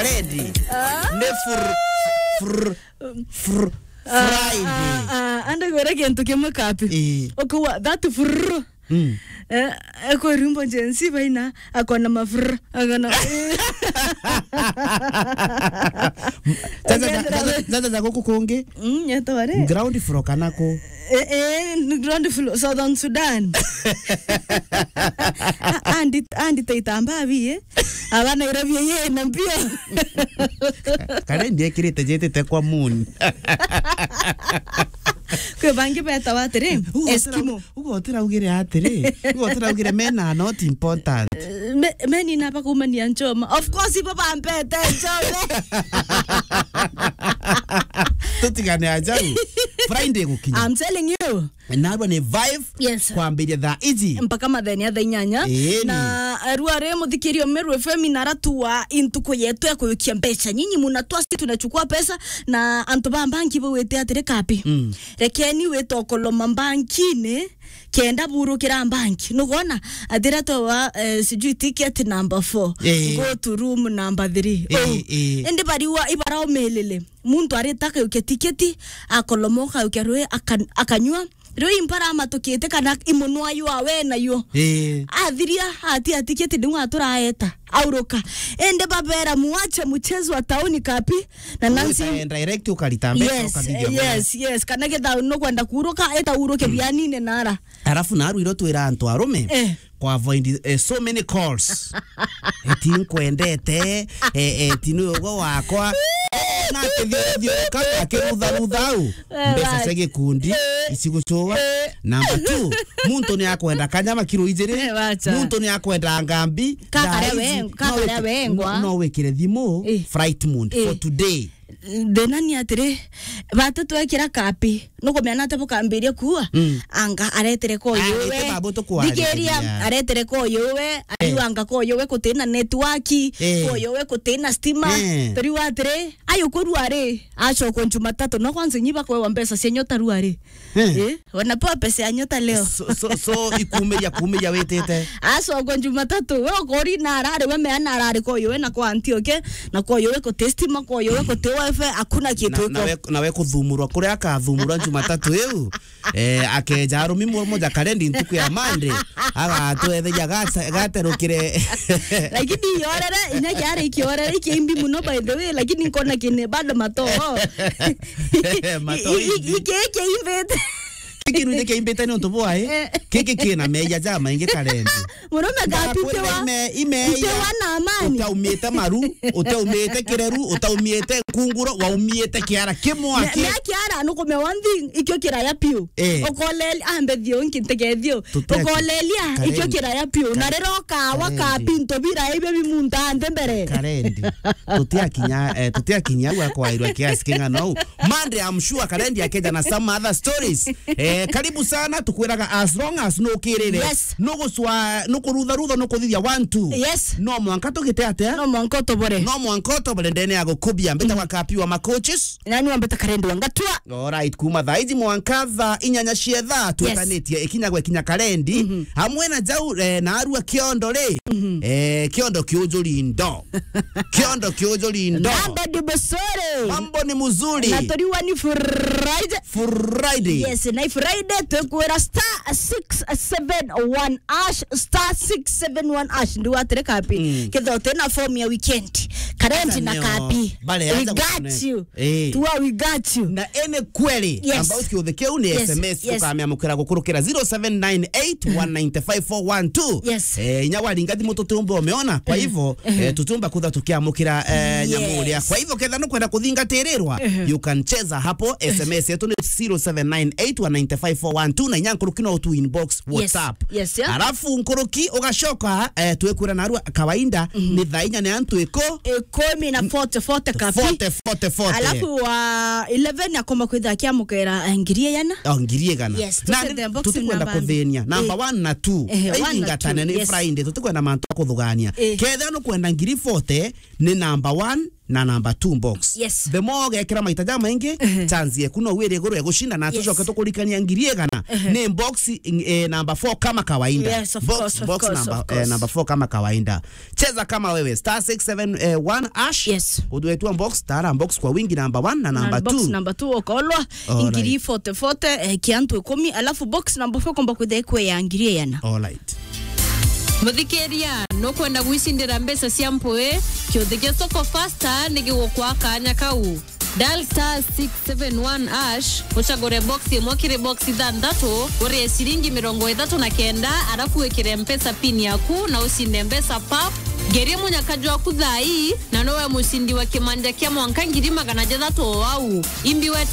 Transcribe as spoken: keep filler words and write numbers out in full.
Ready. Ah. Ni fr-, fr-, fr-, ah, Friday. Ah, ah, ande gwira kintu kimwe kapi. Eh. Ukauga, that fr-, mm, eh, eko rumbo Gen Z baina, akona mafr-, akona. Sasa za, sasa, sasa za guku kungi. Mm, yetwa ri? Ground floor kana ku? Eh, eh, ni ground floor, Southern Sudan. Andi, andi taitamba bi, eh. Aba Nairobi ye na mpio. Kare ndiekirite jetite kwa moon. Kwi bangi betawa atiri, Eskimo. Ugo utiraugire atiri, ugo utiraugire men are not important. Eh, me-, men ina bakumania nchoma. Of course, ibo bampete nchoma. Tutigane ajau. Friday gukinya. I'm telling you. Narua ni vibe. Yes. Kwambiria thaa iji mpaka mathenya thaa inyanya. Ĩni. Na, eh, rua ri muthikirio Meru F M na aratu wa intuku yetu ya kuyukia mbeca. Nyinyi mnatoa, sisi tunachukua pesa, na antu ba banki bawite atiri kapi. Mm. Rekeni wite okoloma bankini, kenda burukira banki. Nugona, athira towa, eh, sijui ticket number four. Eh. Go to room number three. Eh, oh, eh. Indi bariwa ibara umelele. Muntu arita akaukia tiketi, akoloma, akaukia rui, akan-, akanyua. Riu impara amatukite kana imunwa yua we nayo. Eh. Athiria, atia tiketi niu aturaeta, auruka. Indi babera, muache mchezo wa tauni kapi, na Nancy. Enda direct ukarita mbeca, yes, ukathithia mbeca. Yes, yes. Kana githau nukwenda kuruka, eta uruke bianine nara. Alafu naru iro twira antu arume, eh, kwa avoid, eh, so many calls. Eti nkwendete, eh, eh, eti ni ugo wakwa. Na akithithio kana akirutha rutha au. Eh, mbeca cia gikundi, eh, icigucua. Eh. Number two, muntu ni akwenda kanyama kiro ijiri. Eh, wacha. Muntu ni akwenda ngambi. Kakaria thaa ici, weng-, no kakaria wiki-, wengwa. No, no wikire thimu, eh, flight mode, eh, for today. Thina ni atiri, batu twekira kapi, nukumenya ati bukambiria kuua? Mm. Anga aretere koyo we. Arete babu tukwariria. Thikiria, aretere koyo we, eh, ariu anga koyo we kutina network, eh, koyo we kutina stima. Eh. Turiu atiri, ayo kurua ri, acokwa Jumatatu, no kwanza inyi bakwewa mbeca cia nyota rua ri. Eh. Eh, wanapewa pesa ya nyota leo. So, so, so, ikumiria, kumiria witite. Acokwa Jumatatu, we ukori na arari, we meana arari koyo we na kwa Antioke, na koyo we kuti stima, koyo we kuti wifi, hakuna kitu na, iko. Na we, na we kuthumurwa, kuria akathumurwa Jumatatu iu. Eh, akeja arumi mo-, moja karendi ntuku ya Monday, agatwetheria gata-, gaterukire. Lakini iorere, inya kiari ikiorere, ikiimbi muno by the way, lakini nkona kine bado matoo. Matoo i-, i-, imbi. Iki, iki imbite. Giki nuje kiimbite ni untu bwa, eh? Eh. Giki kina meya ja maingi karendi. Murume gapitewa, ime-, imeya, itewa na amani. Utaumite maru, utaumite kireru, utaumite nkunguro, waumite kiara kimwe. Me-, aki. Me kiara nukume one thing, ikio kiraya piu. Eh. Ukoleli, ambe thio, nki ntegethio. Tutia ki-, ukolelia, karendi. Ikio kiraya piu. Na karendi. Rero kawa ka karendi. Pinto bira ibe bimunta nde mbere. Karendi. Tutiakinya, eh, tutiakinya au akwairwa kiasi king'ana au. Monday, I'm sure Karendi akeja na some other stories. Eh, karibu sana, tukwiraga as long as nukirire. Yes. Nuguswa, nukurutha rutha, nukuthithia one, two. Yes. No mwanka tugite atia? No mwanka utobore. No mwanka utobore ndene ya gukubia. Mbita, mm, wa kapi wa macoaches. Nani wambeta Karendi wa Ngatua? Alright, kuma thaa iji mwanka thaa inyanya cia thaa, yes, twetanitie ikinya gwe kinya Karendi. Mhm. Hamwe na jau, eh, na arua kiondo ri. Mhm. Eh, kiondo kiujuri ndo. Kiondo kiujuri ndo. Mambo ni mzuri. Mambo ni mzuri. Na turiwa ni Friday. Friday. Yes, na Friday tukwira star six seven one hash, star six seven one hash. Ndi watire kapi. Mm. Kitho tena form ya weekend. Karendi na kapi. We got you. Eh. Tua, we got you. Na any query, yes, about kiuthe kiu ni, yes, S M S, yes, tukamiamukira gukurukira zero seven nine eight one nine five four one two. Yes. Eh, inya waringa thimu tutiumba umeona. Kwa, mhm, Hivyo, mhm, eh, tutiumba kutha tukiamukira, eh, nyamu uria. Yes. Kwa hivyo, ketha nukwenda kuthingatirirwa, mhm, you can cheza hapo. Yes. S M S yetu ni zero seven nine eight one nine five four one two, na inya nkuruki no tu inbox, yes, WhatsApp. Yes, yeah. Alafu nkuruki ugacoka, eh, twikwira narua kawaida, mhm, ni thaa inya ni antu iko ikumi na forty, forty kapi. Forty, forty, forty. Alafu wa eleven akoma kwitha akiamukira, eh, ngiri igana. Oh, ngiri igana. Yes, na tucethe box tutikwenda namba kuthinia. Number, eh, one na two. Eh, one na two, ithingatane ni, yes, Friday, tutikwenda mantu akuthugania. Eh. Ketha nukwenda ngiri forty, ni number one na number two box. Yes. The more ugekira maita ja maingi, ehe, chance yeku no wire iguru ya gushinda, na tucoke tukurikania ngiri igana. Ehe. Ni box, eh, number four kama kawaida. Yes, of box, course, of box course, number, of course, eh, number four kama kawaida. Cheza kama wewe, star six seven one hash. Yes. Udwetwa box, tara box kwa wingi number one na number two. Box number two ukolwa. Alright. Ngiri forty forty, eh, kia antu ikumi, alafu box number four komba kwithia ikwe ya ngiri igana. Alright. Muthikiria, nukwenda gwicindira mbeca cia mpui? Kiuthi gia Soko Fasta ni gigukwa kanya kau. Dial star six seven one hash, ucagure box imwe kiri box ithanthatu, urie ciringi mirongo ithatu na kenda, arafu wikire mpesa pin yaku na ucinde mbeca pap. Ngerie munyaka jwaku thaa ii, na nowe mucindi wa kimanja kia mwanka ngiri magana jathatu o au. Imbi wete